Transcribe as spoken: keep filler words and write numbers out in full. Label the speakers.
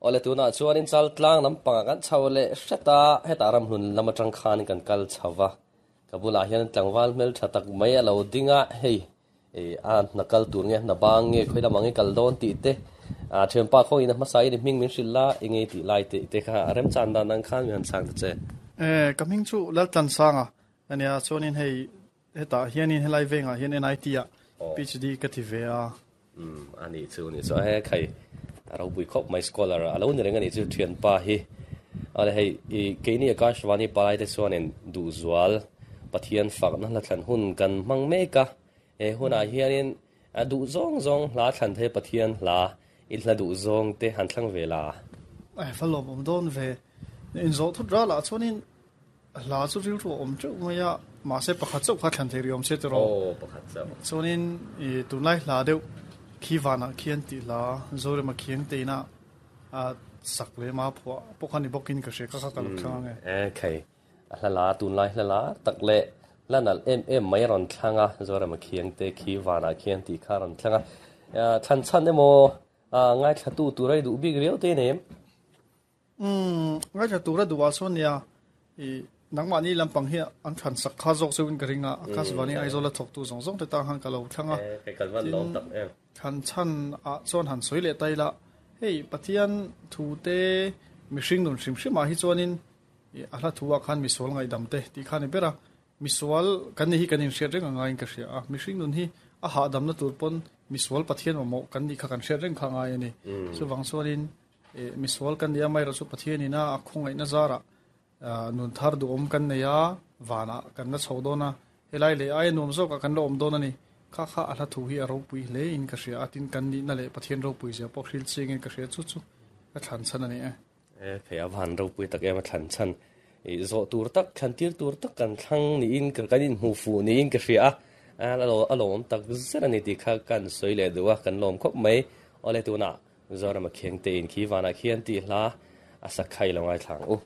Speaker 1: Awle tunah chuanin Chaltlang lampangah kan chho leh hret a, hetah ramhlun lam atang khanin kan kal chho va, ka bulah hian tlangval hmeltha tak mai a lo ding a, hei a hna kal tur nge hna bang nge khawi lamah nge kal dawn tih te a thianpa khawngin a hmasa in i hming min hrilh la i ngei tih lai tih te kha remchan dan ang khan min han chhang ta che.
Speaker 2: E, ka hming chu Laltlansanga ania, chuanin hei hetah hianin helai vengah hian N I T ah PhD ka ti ve a.
Speaker 1: Umm a nih chu ni chu he khai a ropui khawp mai scholar a lo ni reng a nih chu thianpa hi. Awle hei i keini Akashvani palai te chuanin duhzual Pathian fakna hla thlan hun kan hmang mek a, he hunah hianin a duh zawng zawng hla thlan thei Pathian hla i hla duh zawng te han thlang ve la.
Speaker 2: Ai va lawm awm dawn ve. Inzawh thut ralah chuanin hla chu rilru a awm teuh mai a, mahse pakhat chauh kha thlan thei rih awm se tiraw?
Speaker 1: Aw, pakhat chauh.
Speaker 2: Chuanin i tunlai hla deuh khi vanah khian tih hla Zorema khiang teina a sak leh ma phuah pawh kha ni bawkin ka hria kha kha ka lo thlang ang e.
Speaker 1: E khai, a hla la tunlai hla la tak leh hla nalh em em mai a rawn thlang a, Zorema khiang te khi vanah khian tih kha a rawn thlang a. Thlan chhan emaw ngaithlatu tura i duh bik riau te nei em?
Speaker 2: Umm, ngaithla tura duh ah chuan nia, i nangmahni lampang hi an thlan sak kha zawk cheuhin ka ring a, Akashvani Aizawl a thawktu zawng zawng te tang khan ka lo thlang a.
Speaker 1: Tin,
Speaker 2: thlan chhan ah chuan han sawi leh ta ila, hei Pathian thu te mihring nun hrim hrim ah hi chuanin a hla thu ah khan misual ngaihdam te tih kha a ni ber a, misual kan nih hi kan inhriat reng a ngaiin ka hria a, mihring nun hi a hahdamna tur pawn misual Pathian mamawh kan nih kha kan hriat reng kha a ngai a ni. Chuvang chuanin misual kan nih a, amaherawh chu Pathianin a a khawngaihna zarah nun thar duhawm kan nei a, vanah kan la chho dawn a, helai leh aia nuam zawkah kan la awm dawn a ni. Kha kha a hla thu hi a ropui hle in ka hria a, tin kan nihna leh Pathian ropui zia pawh hril chiangin ka hria, chu chu ka thlan chhan a ni e.
Speaker 1: E, phei a van ropui tak em a thlan chhan. I zawh tur tak, thlan tir tur tak kan thlang niin kan inhmuh fuh niin ka hria a, a lawmawm tak zet a ni tih kha kan sawi leh duh a, kan lawm khawp mai. Awle tunah Zorama Khengte in khi vanah khian tih hla a sakhai lo ngaithla ang u.